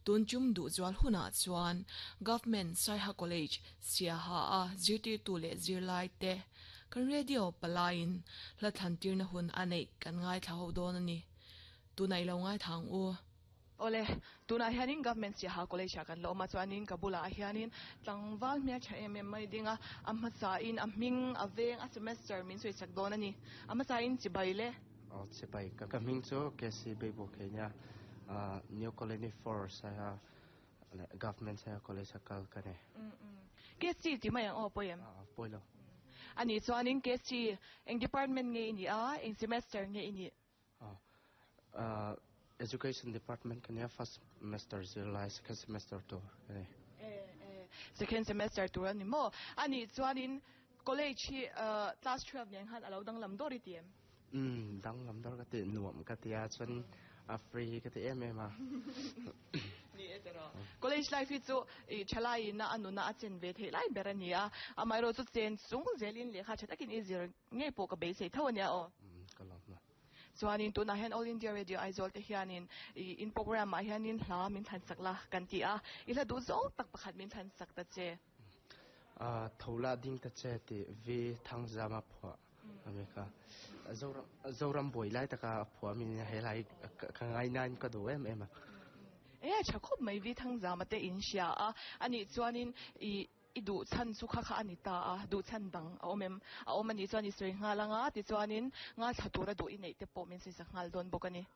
Tun tum duh zual hunah chuan Government Saiha College Siaha a zirtirtu leh zirlai te kan radio palaiin hla thlantirna hun a neih kan ngaithla ho dawn a ni. Tunah i lo ngaithla ang u. Awle, tunah hianin Government Siaha College ah kan la awm a, chuanin ka bulah hianin tlangval hmel tha em em mai ding a, a hmasain a hming, a veng, a semester min sawi chak dawn a ni. A hmasain chibai le. Aw chibai, ka hming chu KC Beibu kei nia, New Colony Force a Government Saiha College a kal ka ni. KC ti mai ang aw pawi em? Pawi lo. A nih chuanin KC eng department nge i nih a, eng semester nge i nih? Education department ka nia, first semester zirlai, second semester tur ka ni. Second semester tur a ni maw? A nih chuanin college hi class 12 nen khan a lo danglam dawr i ti em? Umm danglam dawr ka ti nuam ka ti a chuan a free ka ti em em a. Ni e tiraw. College life hi chu i thalai in a nuna a chen ve theih lai ber a ni a, amaherawh chu chen chung zelin lehkha tha takin i zir ngei pawh ka beisei tho a nia aw. Umm ka lawm a. Chuanin tunah hian All India Radio Aizawl te hianin i in program ah hianin hla min thlan sak la kan ti a, i hla duh zawng tak pakhat min thlan sak ta che. Tho la ding ta che tih Vi Thangzama phuah a mi kha. Zoram buai lai taka a phuah min he lai ka ngai nain ka duh em em a. E tha khawp mai Vi Thangzama te in hria a, anih chuanin i i duh chhan chu kha kha a ni ta a, duh chhan dang a awm em? A awm anih chuan i sawi nghal anga tichuanin ngaithla tura duh i neih te pawh min sawi sak nghal dawn bawk a ni.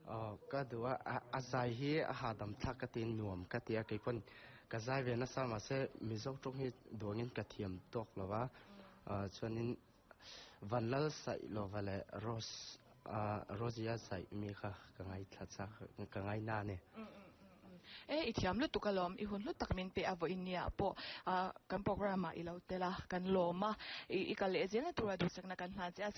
Aw ka duh a, a zai hi a hahdam thlak ka ti nuam ka ti a, kei pawn ka zai ve nasa mahse Mizo tawng hi duangin ka thiam tawk lo va, chuanin Vanlal saih lova leh Rose Rosie-a saih mi kha ka ngaithla chak ka ngaina a ni. E i thiam lutuk alawm, i hun hlu tak min pe a vawiin nia pawh kan program ah i lo tel a, kan lawm a, i kal leh zelna tura duhsakna kan hlan che a.